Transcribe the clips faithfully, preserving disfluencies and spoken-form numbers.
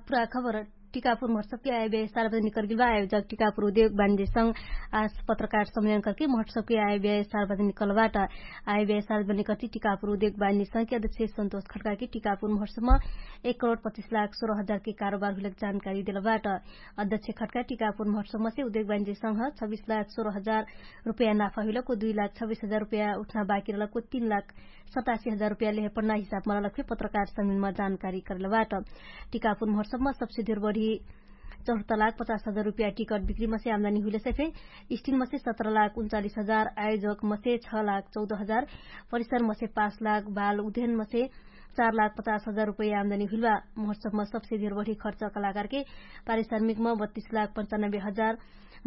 पुरा खबर। टिकापुर महोत्सवके आयोव्याय सार्वजनिक करगेल बा। आयोजक टिकापुर उद्योग बानिज्य संग आज पत्रकार सम्मेलन करके महोत्सवके आयोव्याय सार्वजनिक करल बाट। आयोव्याय सार्वजनिक करती टिकापुर उद्योग बानिज्य संगके अध्यक्ष सन्तोष खड्काके टिकापुर महोत्सवमा एक करोड पच्चिस लाख सोह्र हजारके कारोबार हुइलक जानकारी देल बाट। अध्यक्ष खड्का टिकापुर महोत्सवमा से उद्योग बानिज्य संग छब्बिस लाख सोह्र हजार रुपैया नाफा हुइलक उ दुई लाख छब्बिस हजार रुपैया उठना बाकी रहलक उ तीन लाख सतासी हजार रुपैया लेहे पन्ना हिसाबमा रहलक फे पत्रकार सम्मेलनमा जानकारी करल बाट। टिकापुर महोत्सवमा सबसे धेर बढी चौहत्तर लाख पचास हजार रुपैया टिकट बिक्री मसे आमदानी हुइले सफे स्टिन मसे सत्र लाख उन्चालिस हजार, आयोजक मसे छ लाख चौध हजार, परिसर मसे पाँच लाख, बाल उध्यन मसे चार लाख पचास हजार रुपैया आमदानी हुइल बा। महोत्सवमा सबसे धेर बढी खर्च कलाकारके पारिश्रमिकमा बत्तिस लाख पन्चानब्बे हजार,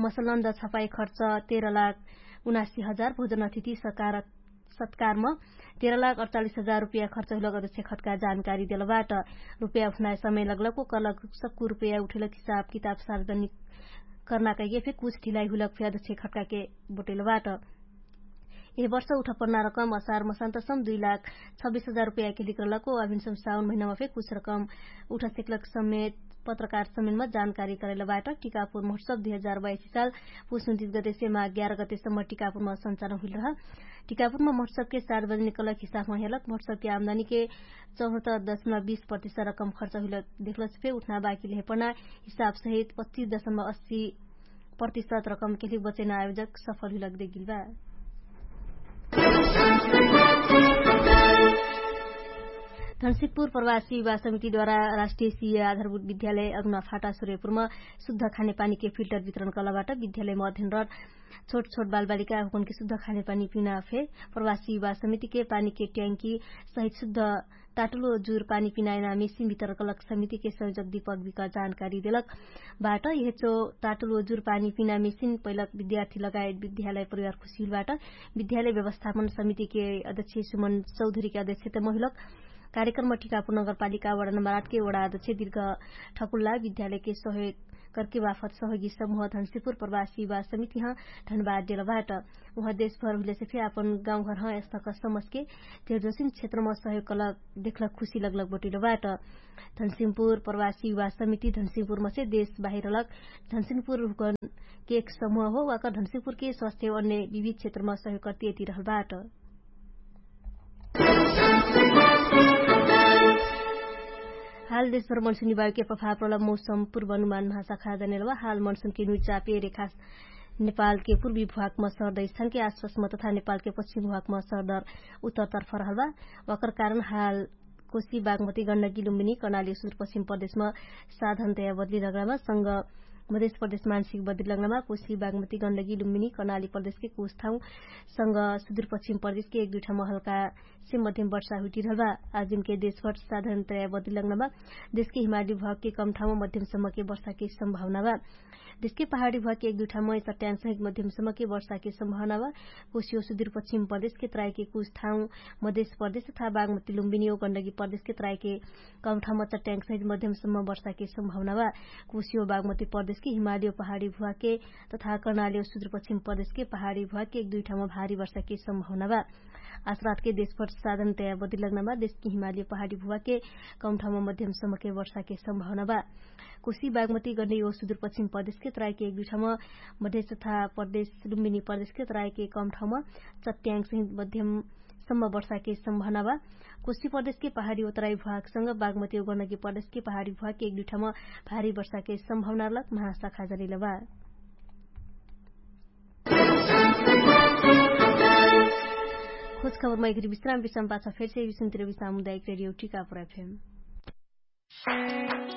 मसलन द छपाई खर्च तेह्र लाख उनासी हजार, भोजन अतिथि सकार सत्कारम तेह्र लाख अडचालिस हजार रुपैया खर्च हुइलक अध्यक्ष खड्का जानकारी देल बाट। रुपैया उठनाय समय लगलक ओकर लग सक्कु रुपैया उठैलक हिसाब किताब सार्वजनिक कर्ना कैके फे कुछ ढिलाई हुइलक फे अध्यक्ष खड्काके बोटैल बाट। एह वर्ष उठपन्ना रकम असार मसान्तसम दुई लाख छब्बिस हजार रुपैया केलिक रहलक ओ अभिनसम साउन महिनामा फे कुछ रकम उठा सेकलक समेत पत्रकार सम्मेलनमा जानकारी करैल बाट। टिकापुर महोत्सव दुई हजार बाइस साल पुस उन्तिस गतेसे माघ ग्यार गतेसम्म टिकापुरमा सञ्चालन हुइल रह। टिकापुरमा महोत्सवके सार्वजनिक कलक हिसाबमा हेलक महोत्सवके आमदानीके चौहत्तर दशमलव बीस प्रतिशत रकम खर्च हुइल देखलस फे उठना बाकी लेहे पना हिसाब सहित पच्चिस दशमलव अस्सी प्रतिशत रकम केलिक बचैना आयोजक सफल हुइलक देखिल बा। धनसिकपुर प्रवासी विवाह समितिद्वारा राष्ट्रिय सिया आधारभूत विद्यालय अग्ना फाटा सुरेपुरमा शुद्ध खानेपानीके फिल्टर वितरण कलबाट विद्यालयमा अध्ययनरत छोट छोट बालबालिका हुकुनके शुद्ध खानेपानी पिना फे प्रवासी विवाह समितिके पानीके ट्याङ्की सहित शुद्ध ताटुलो जुर पानी पिनायना मेसिन वितरण कलक समितिके संयोजक दीपक विक जानकारी देलक। बाट यहेचो ताटुलो जुर पानी पिना मेसिन पैलक विद्यार्थी लगायत विद्यालय परिवार खुसिल बाट। विद्यालय व्यवस्थापन समितिके अध्यक्ष सुमन चौधरीके अध्यक्ष त महिलक कार्यक्रम टिकापुर नगरपालिका वडा नम्बर आठके वडा अध्यक्ष दिर्घ ठकुल्ला विद्यालयके सहयोग करके वाफत सहयोगी समूह धनसिपुर प्रवासी वा समितिह धनबाद देलबाट। उहाँ देशभर हुइलेसे फे आपन गाउँघरह यस्तक समझके धेरजोसिन क्षेत्रमा सहयोग कलक देखलक खुसी लगलक बटिलो बाट। धनसिमपुर प्रवासी वा समिति धनसिमपुरमसे देश बाहिरलक धनसिमपुर हुकन के एक समूह हो वाकर धनसिमपुरके स्वास्थ्य अन्य विविध क्षेत्रमा सहयोग कर्तियति रहलबाट। हाल देशभर मनसुनी बायुके प्रभाव प्रलम मौसम पुर्वानुमान महाशाखा जनेलवा हाल मनसुनके नुइचापे रेखा नेपालके पुर्वी भुवाकमा सर्दै स्थानके आसपासमा तथा नेपालके पश्चिम भुवाकमा सर्दर उत्तरतर्फ रहलवा। वाकर कारण हाल कोशी बागमती गण्डकी लुम्बिनी कर्णाली सुदूर पश्चिम प्रदेशमा साधनतया बदली रगडामा संग मधेश प्रदेश मानसिक बदली रगडामा कोशी बागमती गण्डकी लुम्बिनी कर्णाली प्रदेशके कुछ ठाउँ संग सुदूर पश्चिम प्रदेशके एक दुइ ठाउँमा हल्का से मध्यम वर्षा हुइटिरहल बा। आजुनके देशभर साधनतया बदली रगडामा देशके हिमाली भुवाके कम ठाउँमा मध्यम सम्मके वर्षाके सम्भावना बा। देशके पहाडी भुवाके एक दुइ ठाउँमा चट्याङ्ग सहित मध्यम सम्मके वर्षाके सम्भावना बा। कोसियो सुदूर पश्चिम प्रदेशके त्राइके कुछ ठाउँ मधेश प्रदेश तथा बागमती लुम्बिनी ओ गण्डकी प्रदेशके त्राइके कम ठाउँमा चट्याङ्ग सहित मध्यम सम्म वर्षाके सम्भावना बा। कोसियो बागमती प्रदेशके हिमाली ओ पहाडी भुवाके तथा कर्णाली ओ सुदूर पश्चिम प्रदेशके पहाडी भुवाके एक दुइ ठाउँमा भारी वर्षाके सम्भावना बा। आसरातके देशभर साधनतया बदली रगडामा देशके हिमाली ओ पहाडी भुवाके कम ठाउँमा मध्यम सम्मके वर्षाके सम्भावना बा। कोशी बागमती गण्डकी ओ सुदूर पश्चिम प्रदेशके त्राइके एक दुइ ठाउँमा मधेश तथा प्रदेश लुम्बिनी प्रदेशके त्राइके कम ठाउँमा चट्याङ्ग सहित मध्यम सम्म वर्षाके सम्भावना बा। कोशी प्रदेशके पहाडी ओ तराई भुवाकसँग बागमती ओ गण्डकी प्रदेशके पहाडी भुवाके एक दुइ ठाउँमा भारी वर्षाके सम्भावना रहलक महाशाखा जनिल बा। खोज खबरमा एघरी विश्राम विश्राम पाछा फेरसे विश्रामतिर विश्राम हुँदा एक रेडियो टिकापुर एफएम।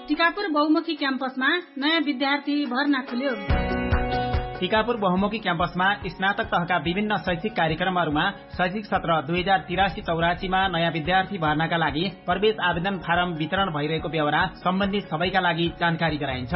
टिकापुर बहुमुखी क्याम्पसमा नयाँ विद्यार्थी भर्ना खुल्यो। टिकापुर बहुमुखी क्याम्पसमा स्नातक तहका विभिन्न शैक्षिक कार्यक्रमहरूमा शैक्षिक सत्र दुई हजार तिरासी चौरासीमा नयाँ विद्यार्थी भर्नाका लागि प्रवेश आवेदन फारम वितरण भइरहेको बेहोरा सम्बन्धित सबैका लागि जानकारी गराइन्छ।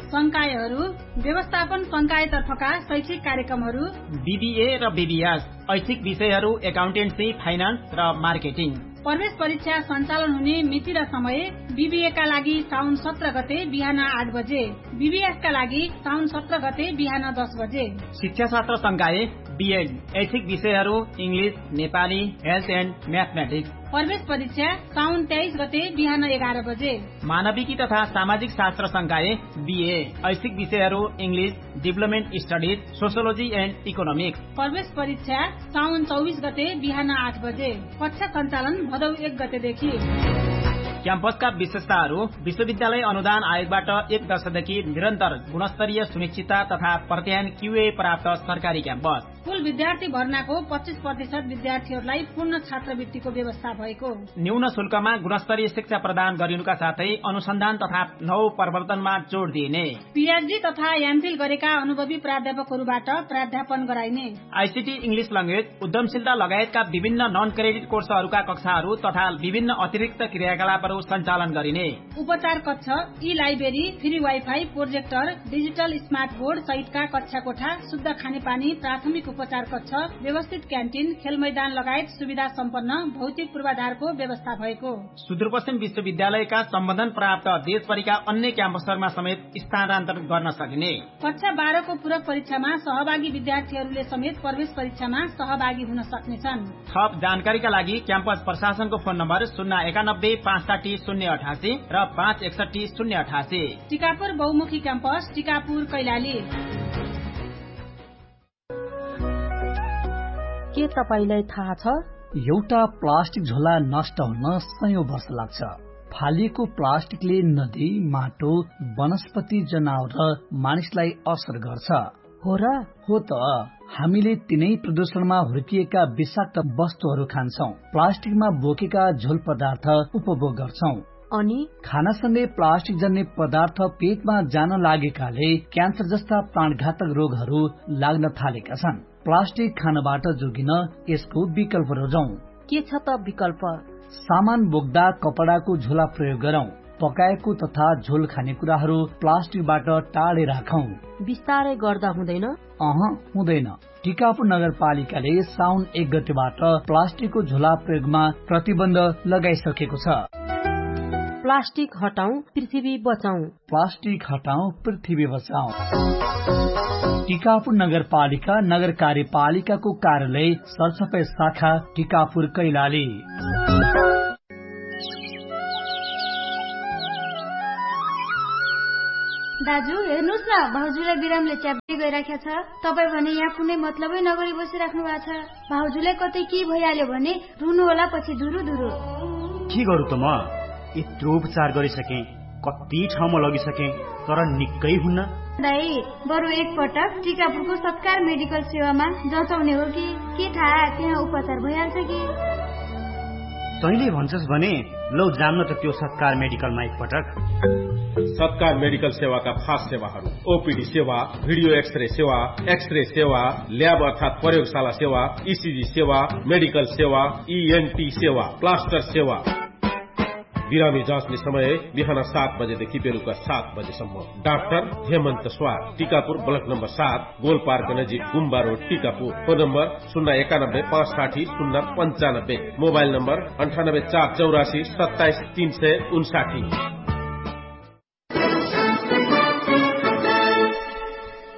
संकायहरू व्यवस्थापन संकायतर्फका शैक्षिक कार्यक्रमहरू बिबिए र बिबिएस, ऐच्छिक विषयहरू एकाउन्टेन्सी, फाइनान्स र मार्केटिङ। प्रवेश परीक्षा सञ्चालन हुने मिति र समय बिबिएका लागि साउन सत्र गते बिहान आठ बजे, बिबिएसका लागि साउन सत्र गते बिहान दस बजे। शिक्षा शास्त्र संकाय बिएड ऐच्छिक विषयहरू, इङ्ग्लिस, नेपाली, हेल्थ एन्ड म्याथमेटिक्स। प्रवेश परीक्षा साउन तेइस गते बिहान एघार बजे। मानविकी तथा सामाजिक शास्त्र संकाय, बिए ऐच्छिक विषयहरू, English, deployment studies, sociology end economics. प्रवेश परीक्षा साउन चौबिस गते बिहान आठ बजे। कक्षा सञ्चालन भदौ एक गतेदेखि। क्याम्पसका विशेषताहरू, विश्वविद्यालय अनुदान आयोगबाट एक दशकदेखि निरन्तर गुणस्तरीय सुनिश्चितता तथा प्रत्यायन क्युए प्राप्त सरकारी क्याम्पस। कुल विद्यार्थी भर्नाको पच्चिस प्रतिशत विद्यार्थीहरूलाई पूर्ण छात्रवृत्तिको व्यवस्था भएको। न्यून शुल्कमा गुणस्तरीय शिक्षा प्रदान गरिनुका साथै अनुसन्धान तथा नव प्रवर्तनमा जोड दिइने। पिएचडी तथा एमफिल गरेका अनुभवी प्राध्यापकहरूबाट प्राध्यापन गराइने। आइसिटी, इङ्ग्लिस ल्याङ्ग्वेज, उद्यमशीलता लगायतका विभिन्न नन क्रेडिट कोर्सहरूका कक्षाहरू तथा विभिन्न अतिरिक्त क्रियाकलापहरू सञ्चालन गरिने। उपचार कक्ष, ई library, free wifi, projector, digital smart board सहितका कक्षा कोठा, शुद्ध खानेपानी, प्राथमिक उपचार कक्ष, व्यवस्थित क्यान्टिन, खेलमैदान लगायत सुविधा सम्पन्न भौतिक पूर्वाधारको व्यवस्था भएको। सुदूरपश्चिम विश्वविद्यालयका सम्बन्धन प्राप्त देशभरिका अन्य क्याम्पसहरूमा समेत स्थानान्तरण गर्न सकिने। कक्षा बाह्रको पूरक परीक्षामा सहभागी विद्यार्थीहरूले समेत प्रवेश परीक्षामा सहभागी हुन सक्नेछन्। थप जानकारीका लागि क्याम्पस प्रशासनको फोन नम्बर शून्य एकानब्बे पाँच साठी शून्य अठासी र पाँच एकसठी शून्य अठासी। टिकापुर बहुमुखी क्याम्पस, टिकापुर कैलाली। के तपाईंलाई थाहा छ? एउटा प्लास्टिक झोला नष्ट हुन सयौं वर्ष लाग्छ। फालिएको प्लास्टिकले नदी, माटो, वनस्पति, जनावर र मानिसलाई असर गर्छ। हो र? हो त। हामीले तिनै प्रदूषणमा हुर्किएका विषाक्त वस्तुहरू खान्छौं। प्लास्टिकमा बोकेका झोल पदार्थ उपभोग गर्छौं। अनि खानासँगै प्लास्टिक जन्ने पदार्थ पेटमा जान लागेकाले क्यान्सर जस्ता प्राणघातक रोगहरू लाग्न थालेका छन्। प्लास्टिक खानबाट जोगिन यसको विकल्प रोजौं। के छ त विकल्प? सामान बोक्दा कपडाको झोला प्रयोग गरौं। पकाएको तथा झोल खाने कुराहरू प्लास्टिकबाट टाढे राखौं। बिस्तारै गर्दा हुँदैन? अह, हुँदैन। टिकापुर नगरपालिकाले साउन एक गतेबाट प्लास्टिकको झोला प्रयोगमा प्रतिबन्ध लगाइसकेको छ। प्लास्टिक हटाउँ, पृथ्वी बचाउँ। प्लास्टिक हटाउँ, पृथ्वी बचाउँ। टिकापुर नगरपालिका, नगर कार्यपालिकाको कार्यालय, सरसफाइ शाखा, टिकापुर कैलाली। दाजु, हेर्नुस् न, भाउजूलाई बिरामले च्याप्दै गइराख्या छ। तपाईँ भने यहाँ कुनै मतलबै नगरी बसिराख्नु भएको छ। भाउजूलाई कतै के भइहाल्यो भने रुनु होला पछि धुरु धुरु। के गरौँ त म? यत्रो उपचार गरिसकेँ, कति ठाउँमा लगिसकेँ, तर निक्कै हुन्न। दाइ, बरु एकपटक टिकापुरको सत्कार मेडिकल सेवामा जचाउने हो कि, के थाहा त्यहाँ उपचार भइहाल्छ कि? तैँले भन्छस् भने लौ जान्न त त्यो सत्कार मेडिकलमा एकपटक। सत्कार मेडिकल सेवाका खास सेवाहरू, ओपिडी सेवा, भिडियो एक्सरे सेवा, एक्सरे सेवा, ल्याब अर्थात् प्रयोगशाला सेवा, इसिजी सेवा, मेडिकल सेवा, इएनटी सेवा, प्लास्टर सेवा। बिरामी जाँच्ने समय बिहान सात बजेदेखि बेलुका सात बजेसम्म। डाक्टर हेमन्त स्वार, टिकापुर, ब्लक नम्बर सात, गोलपार्क नजिक गुम्बा रोड, टिकापुर। फोन नम्बर शून्य एकानब्बे पाँच साठी शून्य पन्चानब्बे। मोबाइल नम्बर अन्ठानब्बे चार चौरासी सत्ताइस तीन सय उन्साठी।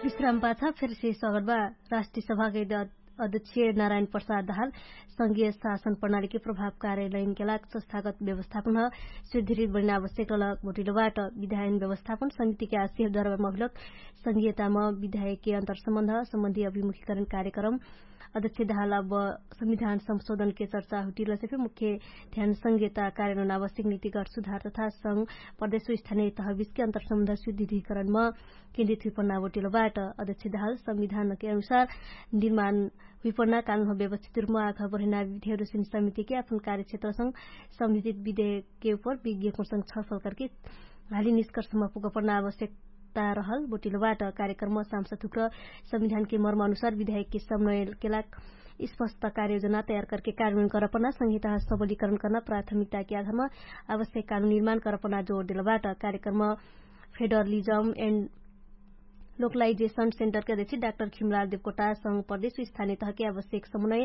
विश्राम पाछा फेरसे स्वागत बा। राष्ट्रिय सभाकै अध्यक्ष नारायण प्रसाद दाहाल संघीय शासन प्रणालीके प्रभाव कार्यालयनके लाग संस्थागत व्यवस्थापन ह सुदृढ बनिन आवश्यक रहलक भोटिलोबाट। विधायन व्यवस्थापन समितिके आशिष द्वारा मभिलक संघीयताम विधायकके अन्तरसम्बन्ध सम्बन्धी अभिमुखीकरण कार्यक्रम अध्यक्ष दाहाल अब संविधान संशोधनके चर्चा हुटिलसे फे मुख्य ध्यान संघीयता कार्यान्वयन आवश्यक नीतिगत सुधार तथा संघ प्रदेश स्थानीय तहबिसके अन्तरसम्बन्ध सुदृढीकरणम केन्द्रित हुइपन्ना बोटिलोबाट। अध्यक्ष दाहाल संविधानके अनुसार निर्माण हुइपन्ना कानुन व्यवस्थित रूपमा आखा बढेना विधिहरू समितिके आफन कार्यक्षेत्रसँग सम्बन्धित विधेयकके उपर विज्ञकोसँग छलफल करके हाली निष्कर्षमा पुगपन्ना आवश्यकता रहल बोटिलोबाट। कार्यक्रममा सांसद हुक्र संविधानके मर्म अनुसार विधेयकके समन्वयके लाग स्पष्ट कार्ययोजना तयार करके कार्यान्वयन करपन्ना संहिता सबलीकरण करना प्राथमिकताके आधारमा आवश्यक कानुन निर्माण करपन्ना जोर देलोबाट। कार्यक्रममा फेडरलिजम एन्ड लोकलाइजेसन सेन्टरके अध्यक्ष डाक्टर खिमलाल देवकोटा संघ प्रदेश स्थानीय तहके आवश्यक समन्वय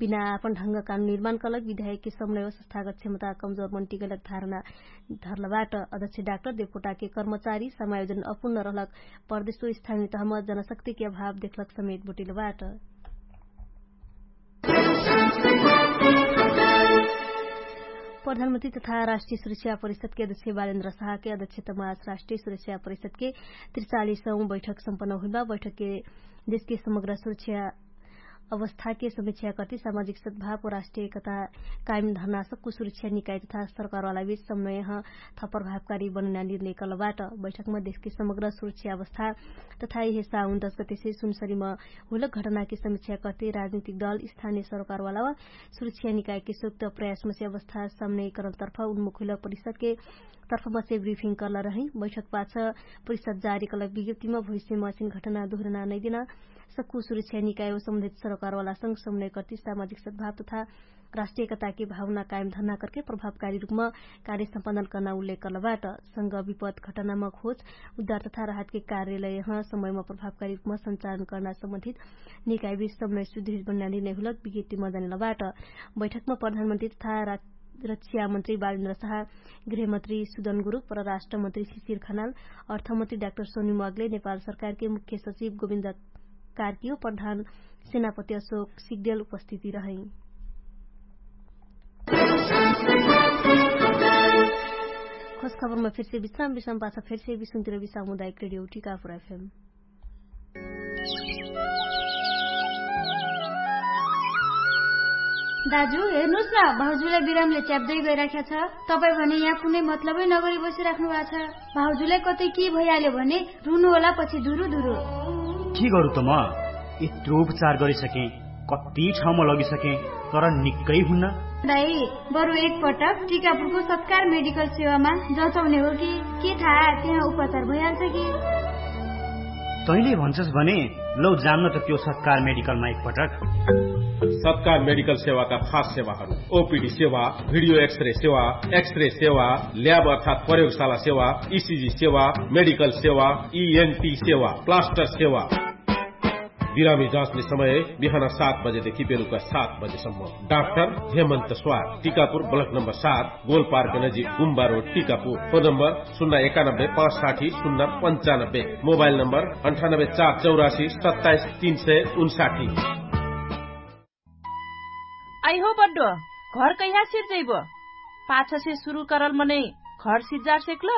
बिना आपन ढङ्ग कानुन निर्माण कलक विधायकके समन्वय संस्थागत क्षमता कमजोर मन्टिगलक धारणा धरलबाट। अध्यक्ष डाक्टर देवकोटाके कर्मचारी समायोजन अपुर्ण रहलक प्रदेश स्थानीय तहमा जनशक्तिके अभाव देखलक समेत बोटिलोबाट। प्रधानमन्त्री तथा राष्ट्रिय सुरक्षा परिषदके अध्यक्ष बालेन्द्र साहके अध्यक्षतमा आज राष्ट्रिय सुरक्षा परिषदके त्रिचालिसौँ बैठक सम्पन्न हुइलबा। बैठकके देशके समग्र सुरक्षा अवस्थाके समीक्षा कर्ति सामाजिक सद्भाव व राष्ट्रिय एकता कायम धर्नासकु सुरक्षा निकाय तथा सरकारवाला बीच समन्वयह थप प्रभावकारी बनैना निर्णय कलबाट। बैठकमा देशके समग्र सुरक्षा अवस्था तथा यहे साउन दस गतेसे सुनसरीमा हुलक घटनाके समीक्षा कर्ति राजनीतिक दल स्थानिय सरकारवाला वा सुरक्षा निकायके सुक्त प्रयासमसे अवस्था सामने करन तर्फ उन्मुख हुइलक परिषदके तर्फमसे ब्रिफिङ कर्ला रहै। बैठक पाछ परिषद जारी कलक विज्ञप्तिमा भविष्यमा असिन घटना दुहरना नैदिना सक्कु सुरक्षा निकाय व सम्बन्धित सरकारवालासँग समन्वय कर्ति सामाजिक सद्भाव तथा राष्ट्रिय एकताके भावना कायम धर्ना करके प्रभावकारी रुपमा कार्य सम्पादन कर्ना उल्लेख कर्लबाट। संग विपत घटनामा खोज उद्धार तथा राहतके कार्यालयह समयमा प्रभावकारी रुपमा सञ्चालन कर्ना सम्बन्धित निकायबीच समन्वय सुदृढ बन्ना निर्णय हुलक विज्ञप्तिमा जानेलबाट। बैठकमा प्रधानमन्त्री तथा रक्षामन्त्री बालेन्द्र साहा, गृहमन्त्री सुदन गुरुङ, परराष्ट्रमन्त्री शिशिर खनाल, अर्थमन्त्री डाक्टर सोनी मगले, नेपाल सरकारके मुख्य सचिव गोविन्द कार्कियो, प्रधान सेनापति अशोक सिग्देल उपस्थिति रहै। खोज खबरमा फेरसे विश्राम विश्राम पाछ फेरसे विश्वन्तिर विश्राम उदायक रेडियो टिकापुर एफएम। दाजु, हेर्नुस् न, भाउजुले बिरामले च्याप्दै गइराख्या छ। तपाईँ भने यहाँ कुनै मतलबै नगरी बसिराख्नु भएको छ। भाउजुले कतै के भइहाल्यो भने रुनु होला पछि धुरु धुरु। के गरु त म? यत्रो उपचार गरिसके, कति ठाउँमा लगिसके, तर निक्कै हुन्न। दाइ, बरु एक पटक टिकापुरको सत्कार मेडिकल सेवामा जचाउने हो कि के थाहा, त्यहाँ उपचार भइहाल्छ कि? तैँले भन्छस् भने लौ जान्न त त्यो सत्कार मेडिकलमा एक पटक। सत्कार मेडिकल सेवाका खास सेवाहरू, ओपिडी सेवा, भिडियो एक्सरे सेवा, एक्सरे सेवा, ल्याब अर्थात् प्रयोगशाला सेवा, इसिजी सेवा, मेडिकल सेवा, इएनटी सेवा, प्लास्टर सेवा। बिरामी जाँच्ने समय बिहान सात बजेदेखि बेलुका सात बजेसम्म। डाक्टर हेमन्त स्वार, टिकापुर, ब्लक नम्बर सात, गोलपार्क नजिक गुम्बा रोड, टिकापुर। फोन नम्बर शून्य एकानब्बे पाँच साठी शून्य पन्चानब्बे। मोबाइल नम्बर अन्ठानब्बे चार चौरासी सत्ताइस तीन सय उन्साठी। आइहो बड्डो, घर कैहा सिर्जैबो? पाछसे सुरु करल मनै घर सिज्जार सेक्ल?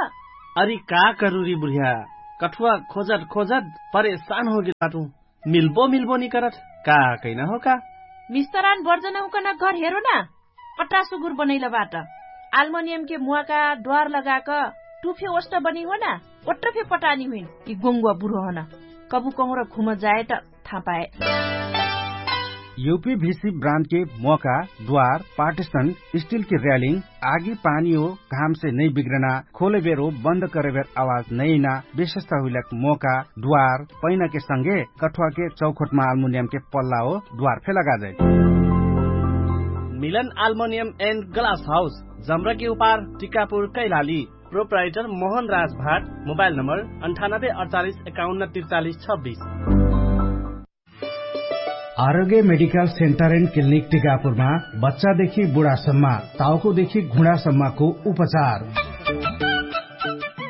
अरि का करुरी बुढिया, कठुवा खोजत खोजत परेशान होगेल बाटु। मिल्बो मिल्बो निकरत, का कैना हो का? मिस्तरान बर्जन उकन घर हेरो ना। अट्टा सुगुर बनैल बाट। आल्मनियमके मुवाका द्वार लगाक टुफे ओष्ट बनी हो ना, ओट्ट फे पटानी हुइन। कि गोङ्गुवा बुढो हन कबु कहुँर घुम जाए त थाहा पाए। युपी भिसी ब्रान्डके मोका, द्वार, पार्टिसन, स्टिलके र्यालिङ, आगी पानी हो घामसे नै बिग्रना, खोले बेर हो बन्द करे बेर आवाज नै ना, विशेषता हुइलक मोका, द्वार, पैनाके संगे कठुवाके चौखोटमा आल्मुनियमके पल्ला हो द्वार फे लगाजै। मिलन आल्मुनियम एन्ड ग्लास हाउस, जम्रकी उपार, टिकापुर, कैलाली। प्रोप्राइटर मोहन राज भाट। मोबाइल नम्बर अन्ठानब्बे अडचालिस एकाउन्न त्रिचालिस छब्बिस। आरोग्य मेडिकल सेन्टर एन्ड क्लिनिक टिकापुरमा बच्चादेखि बुढासम्म, टाउकोदेखि घुँडासम्मको उपचार।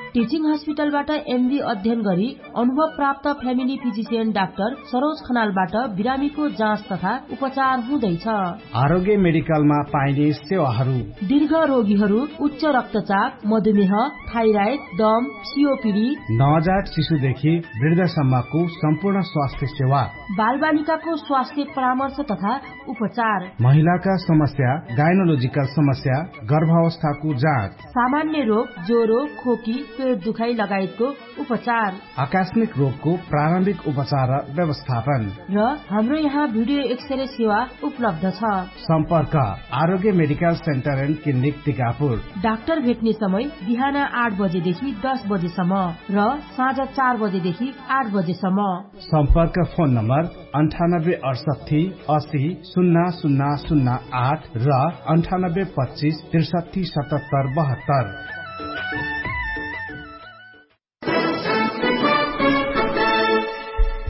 टिचिङ हस्पिटलबाट एमडी अध्ययन गरी अनुभव प्राप्त फ्यामिली फिजिसियन डाक्टर सरोज खनालबाट बिरामीको जाँच तथा उपचार हुँदैछ। आरोग्य मेडिकलमा पाइने सेवाहरू। दीर्घ रोगीहरू, उच्च रक्तचाप, मधुमेह, थाइराइड, दम, सिओपिडी, नवजात शिशुदेखि वृद्धसम्मको सम्पूर्ण स्वास्थ्य सेवा। बालबालिकाको स्वास्थ्य परामर्श तथा उपचार। महिलाका समस्या, गाइनोलोजिकल समस्या, गर्भावस्थाको जाँच। सामान्य रोग, ज्वरो, खोकी, पेट दुखाइ लगायतको उपचार। आकस्मिक रोगको प्रारम्भिक उपचार र व्यवस्थापन। र हाम्रो यहाँ भिडियो एक्सरे सेवा उपलब्ध छ। सम्पर्क Arogya medical centre and clinic Tikapur. Doctor भेट्ने समय बिहान आठ बजेदेखि दस बजेसम्म र साँझ चार बजेदेखि आठ बजेसम्म। सम्पर्क फोन नम्बर अन्ठानब्बे अडसट्ठी असी सुन्ना सुन्ना सुन्ना आठ र अन्ठानब्बे पच्चिस त्रिसट्ठी सतहत्तर बहत्तर।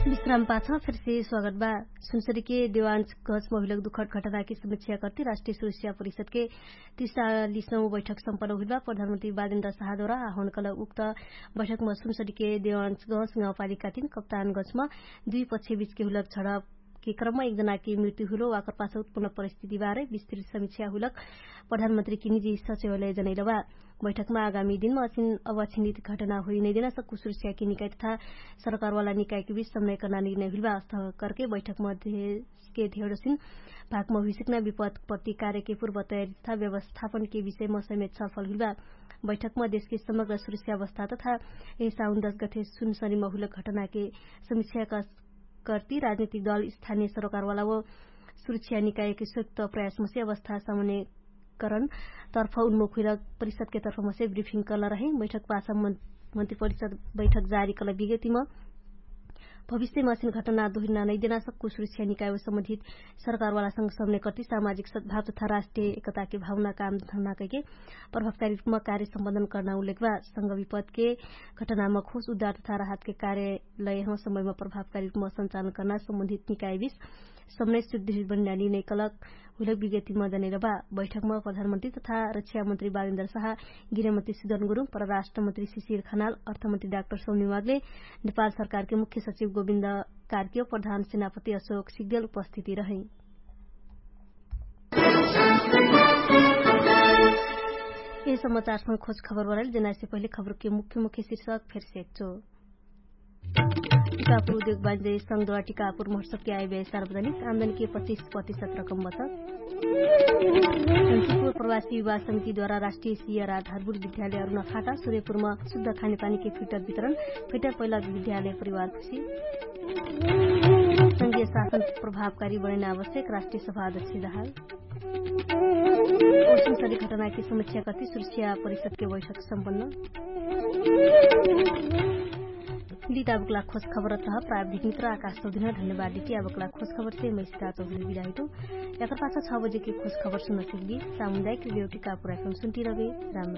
विश्राम पाछ फेरसे स्वागत बा। सुनसरीके देवांश गज महिलक दुखट घटनाके समीक्षा कर्ति राष्ट्रिय सुरक्षा परिषदके तिसालिसौँ बैठक सम्पन्न हुइल बा। प्रधानमन्त्री बालेन्द्र शाहद्वारा आह्वान कलक उक्त बैठकमा सुनसरीके देवांश गज गाउँपालिकातिन कप्तान गजमा दुई पक्ष बिचके हुलक झडप के क्रममा एक जनाके मृत्यु हुइलो वाकर पाछ उत्पन्न परिस्थिति बारे विस्तृत समिक्षा हुइलक प्रधानमन्त्रीके निजी सचिवालय जनैलबा। बैठकमा आगामी दिनमा अछिन अवछिनित घटना हुइ नैदेना सक्कु सुरक्षाके निकाय तथा सरकारवाला निकायके विच समन्वय कर्ना निर्णय हुइलबा अस्त करके बैठकमा देशके धेडोसिन भागमा हुइसिक्ना विपत्ति कार्यके पूर्व तयारी तथा व्यवस्थापनके विषयमा समेत छलफल हुइलबा। बैठकमा देशके समग्र सुरक्षा अवस्था तथा यही साउन दश गठे सुनसरीमा हुइलक घटनाके समिक्षा कर्ती राजनीतिक दल स्थानीय सरकारवाला व सुरक्षा निकायके सुक्त प्रयासमसे अवस्था सामने करण तर्फ उन्मुख हुइलक परिषदके तर्फमसे ब्रिफिङ कर्ला रहे। बैठक पाछ मन्त्री परिषद बैठक जारी कर्ला विगतिमा भविष्यमा असिन घटना दोहिना नैदेना सक्कु सुरक्षा निकाय व सम्बन्धित सरकारवालासँग समन्वय कर्ती सामाजिक सद्भाव तथा राष्ट्रिय एकताके भावना काम धर्ना कैके प्रभावकारी रूपमा कार्य सम्बन्धन कर्ना उल्लेखबा संग विपदके घटनामा खोस उद्धार तथा राहतके कार्यालयमा समयमा प्रभावकारी रूपमा सञ्चालन कर्ना सम्बन्धित निकायबीच समन्वय सुदृढ बन्ना निर्णय कलक हुइलक विज्ञतिमा जनैलबा। बैठकमा प्रधानमन्त्री तथा रक्षामन्त्री बालेन्द्र साहा, गृहमन्त्री सुदन गुरुङ, परराष्ट्रमन्त्री शिशिर खनाल, अर्थमन्त्री डाक्टर सौनी मागले, नेपाल सरकारके मुख्य सचिव गोविन्द कार्कियो प्रधान सेनापति अशोक सिग्देल उपस्थिति रहै। यही समाचारसँग खोज खबर बराइल जेनासे पहिले खबरके मुख्य मुख्य शीर्षक फेरसे एक्चो। टिकापुर उद्योग बान्जे संगद्वारा टिकापुर महोत्सवके आइबे सार्वजनिक आमदनके पच्चिस प्रतिशत रकम बचत। प्रवासी विवाह समितिद्वारा राष्ट्रिय सियर आधारभूत विद्यालय अरुणा फाटा सुरेपुरमा शुद्ध खानेपानीके फिल्टर वितरण, फिल्टर पैलक विद्यालय परिवार खुशी। संगीय शासन प्रभावकारी बनैना आवश्यक राष्ट्रिय सभा अध्यक्ष दहाल। ओसनसरी घटनाके समिक्षा कति सुरक्षा परिषदके बैठक सम्पन्न। लिता बक्ला खोज खबर तह प्राविधिक मित्र आकाश सौदिन धन्यवाद लिटी आबक्ला खोज खबर से मैसिता चौधरी बिराहिटो। याकर पाछा छ बजेके खोज खबर सुनसिल्ली सामुदायिक रेडियो टिकापुर एफएम सुन्टी रबे। राम राम।